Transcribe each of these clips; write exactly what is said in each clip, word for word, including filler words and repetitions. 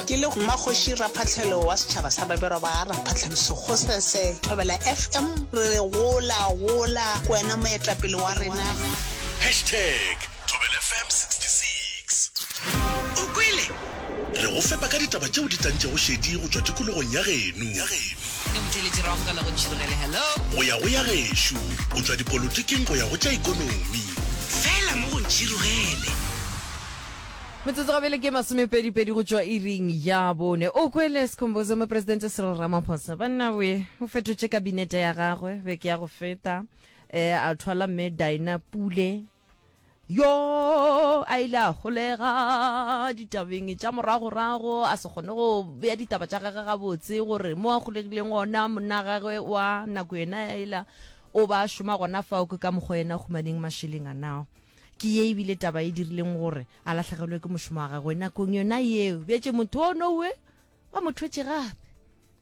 Ke le Mmakgoši Raphahlelo wa setšhaba sa Babelwa ba Raphahlelo Sekgosese Thobela F M re re gola gola ke wena moetapele wa rena. Hashtag Thobela F M sixty-six. O kwele? Re go fepa ka ditaba tšeo di tantšego šedi go tšwa tikologong ya geno. Ke motheeletši ra amogela go Ntšhirogele. Hello. Go ya go ya gešo, go tšwa dipolotiking go ya go tša ekonomi. Fela mo go Ntšhirogele. Metsotso gabele ke masomepedipedi go tšwa iring ya bone. O kwele Sikhumbuzo, Mopresidente Cyril Ramaphosa banna we o fetotše kabinete ya gagwe beke ya go feta, eh, a thwala mme Dina Pule yo a ile a golega ditabeng tša moragorago, a se kgone go bea ditaba tša gagwe gabotse gore mo a golegileng gona monna gagwe wa nako yena ela o ba šoma gona fao, ke ka mokgwa yena humaneng mašeleng a nao. Ke ye ebile taba e dirileng gore a lahlegelwe ke mošomo wa gagwe nakong yona yeo. Bjetse motho o nowe ba mo thwetše gape.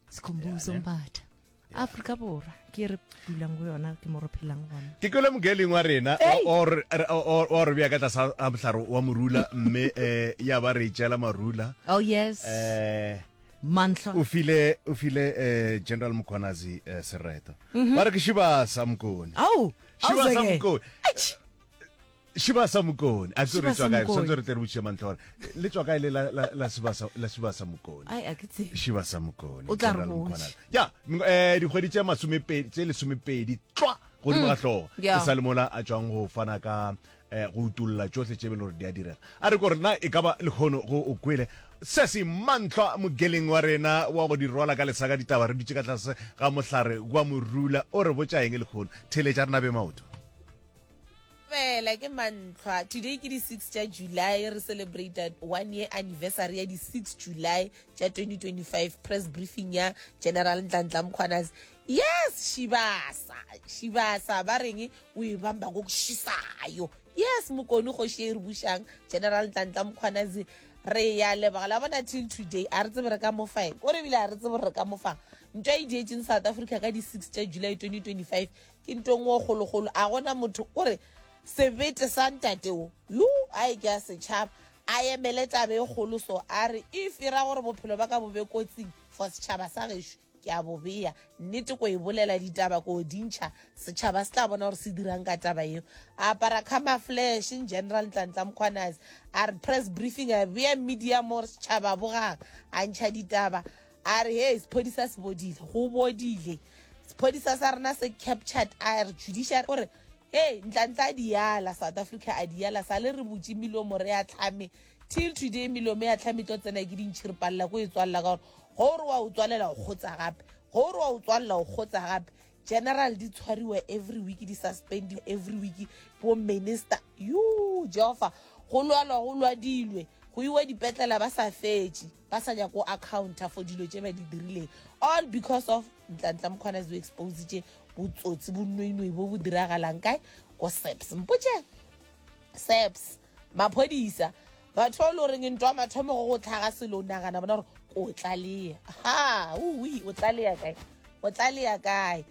Sikhumbuzo Mbatha, Afrika Borwa ke re dulang go yona, ke mo re phelang gona. Ke kwele mogeling wa rena wa re bea ka tlasa ga mohlare wa morula, mme um ya ba re itšela marula. Oh yes. Um mantlha o file o file eh General Mkhwanazi eh, sereto, ba re ke Shibasa Mokone. Au. Shibasa Auzeke. Mokone. Shibasa Mokone a ke re Shibasa tswa kae? Mokone. Santse re tle re botšiše mantlha gore le tswa kae le la la la Shibasa, la Shibasa Mokone. Ai, a ke tsebe. Shibasa Mokone. O tla re General botša. Mkhwanazi. Ya m- eh dikgwedi tše masomepedi, tše lesomepedi tlwa godimo ga hlogo Yeah. e sa le mola a tšwang go fana ka eh, go utolla tšohle tše be le gore di a direga. A re kore na e ka ba lekgono go o kwele se se mantlhwa mogeleng wa rena wa go di rwala ka lesaka ditaba, re dutše ka tlase ga mohlare wa morula, o re botša eng lekgono? Theletša rena be maoto. Fela ke mantlhwa, today ke di-six tša July, re celebrate one year anniversary ya di-six July tša twenty twenty-five, press briefing ya General Nhlanhla Mkhwanazi. Yes, Shibasa, Shibasa, ba reng o e bamba ngokushisayo. Yes, Mokone, kgoši e re bušang, General Nhlanhla Mkhwanazi, re ya leboga la bona. Till today a re tsebe re ka mofaeng kore ebile a re tsebe re ka mofang ntho e dietseng South Africa ka di-six tša July twenty twenty-five. Ke ntho engwe kgolokgolo, a gona motho kore sebete sa ntateo yo a e ke a setšhaba a emele tabe e kgolo. So a re if e ra gore bophelo ba ka bo be kotsing for setšhaba sa gešo, ke a bo bea nnete, ko e bolela ditaba, ko dintšha, setšhaba se tla bona gore se dirang ka taba eo. A apara camouflage General Nhlanhla Mkhwanazi, a re press briefing, a bea media mo gore setšhaba bogang, a ntšha ditaba, a re he sephodisa se bodile, go bodile, sephodisa sa rena se captured, a re judiciary gore hey Ntlantla a diala South Africa, a diala sa le re butše melomo re a tlhame. Till today melomo ya tlhame tlo tsena ke dintšhi, re palela ko e tswalela ka gore gore wa o tswalela o kgotsa gape, gore wa o tswalela o kgotsa gape. General di tshwariwa every week, di suspendiwa every week, bo minister yo Jehova, go lwalwa, go lwadilwe, go iwa dipetlela ba sa fetše, ba sa nyako accounta for dilo tše ba di dirileng, all because of Ntlantla Mkhwanazi o expositše botsotsi, bonoinoi bo bo diragalang kae? Ko SAPS. Mpotše, SAPS, maphodisa, batho ba e le goreng ntho ya mathomo go go tlhaga selo o nagana bona gore ko o tlalea ha ui, o tlalea kae? O tlalea kae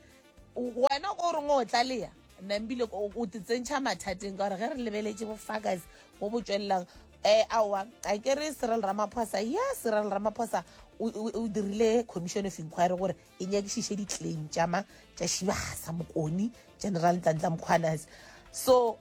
wena ko reng o tlalea? Nna o o te tsentšha mathateng ka gore ge re lebeletše bofakazi bo bo tswelelang um aowa, a ke re Cyril Ramaphosa ya Cyril Ramaphosa o o- o dirile commission of inquiry gore e nyakišiše di-claim tša ma tša Shibasa Mokone, General Nhlanhla Mkhwanazi. So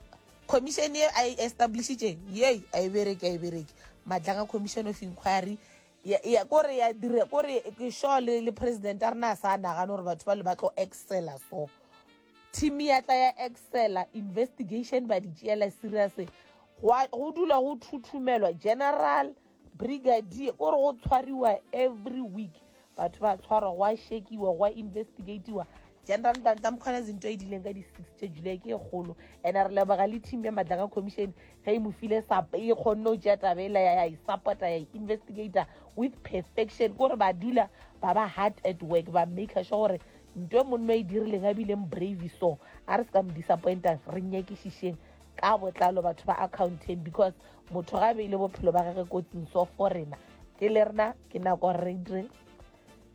commission ye a e establishitšeng yei a e bereke, a e bereke. Madlanga Commission of Inquiry ya ya- kore ya dire kore ke sure le le president a rena a sa nagane gore batho ba le ba tlo excela. So team ya tla ya excela investigation, ba di tšeela serious, go go dula go thuthumelwa general, brigadier, kore go tshwariwa every week, batho ba tshwarwa, go a shekiwa, go a investigatiwa. General Nhlanhla Mkhwanazi ntho e dileng ka di-six tša July ke e kgolo, and re leboga le team ya Madlanga Commission ge e mo file sap, e kgonne go tšea taba ela ya e support-a, ya e investigata with perfection, kore ba dula ba ba hard at work, ba make sure gore ntho e monno e dirileng a bileng brave. So a re se ka mo disappointa, re nyakišišeng ka botlalo, batho ba accounting, because motho ga beile bophelo ba gage kotsing. So for rena ke le rena ke nako gore re dire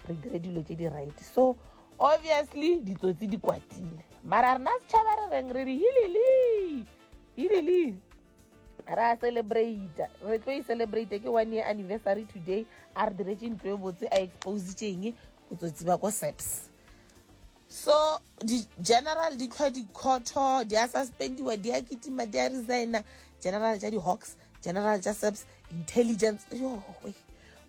re dire dilo tše di right. So obviously ditsotsi di kwatile, mara rena setšhaba re reng? Re re hilili hilili. Ra celebrate, re tlo e celebrate, ke one year anniversary today. A re diretše ntlo e botse, a expositšeng botsotsi ba ko SAPS. So di-general di tlhwa dikhotho, di a suspendiwa, di a kitima, di a resigna. General tša di-Hawks, general tša SAPS, intelligence, yo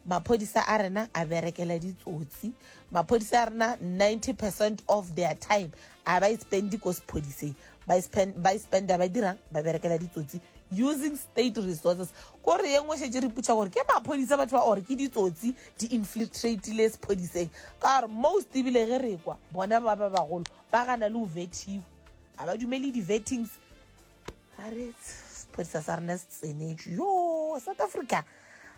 maphodisa a rena a berekela ditsotsi. Maphodisa a rena ninety percent of their time a ba e spendi ko sephodiseng, ba e spend- ba e spenda ba dirang, ba berekela ditsotsi using state resources. Kore ye nngwe šetse re putša gore ke maphodisa batho ba ore ke ditsotsi di infiltratile sephodiseng, ka gore most ebile ge re kwa bona ba ba bagolo ba gana le go vetiwa, ga ba dumele di-vettings. A re sephodisa sa rena se tsenetšwe. Yo, South Africa,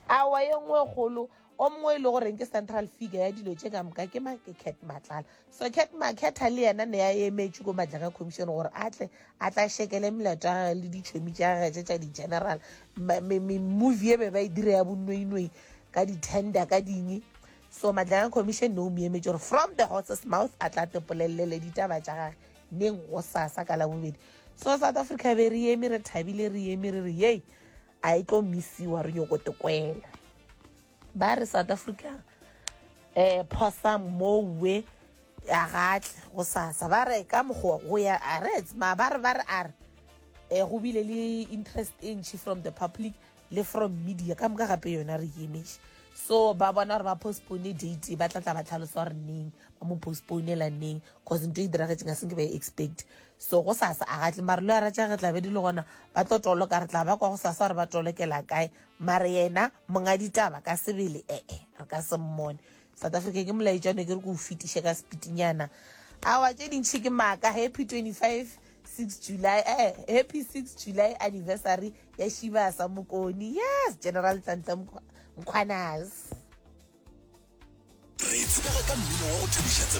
awa ye nngwe kgolo o mongwe e le goreng ke central figure ya dilo tše ka moka ke ma ke Cat Matlala. So Cat Makhetha le yena ne a emetše ko Madlanga Commission gore a tle a tla šekele melato ya gage le ditšhomi tša gage tše tša di-general. Movie e be ba e dira ya bonnoinoi ka di-tender ka ding. So Madlanga Commission ne o mo emetše gore from the horse's mouth a tla tepolelele ditaba tša gage neng, go sasa ka Labobedi. So South Africa be re eme re thabile, re eme re re yei a e tlo misiwa, re nyoko tekwela. Ba re South Africa um phosa mowe a gatle go sasa, ba re ka mokgwa go ya a re ma ba re ba re a re um go bile le interest e ntšhi from the public le from media ka moka, gape yona re emetše. So ba bona gore ba postpone date, ba tla tla ba tlhalosa gore neng ba mo postponela neng, cause ntho e diragetseng a senke ba e expect. So go sasa a gatle, mare le ara tša ge tla be di le gona, ba tlo toloka, re tla ba kwa go sasa gore ba tolokela kae. Mare yena monga ditaba ka sebele, ee, re ka se mmone. South Africa, ke molaetšano ke re ke o fetiše ka sepitinyana. Awa, tše dintšhi ke maaka. Happy twenty-five six July, eh, happy six July anniversary ya Shibasa Mokoni. Yes, General Nhlanhla Mkhwanazi. Re tsebega ka mmino wa go thabiša tsebe.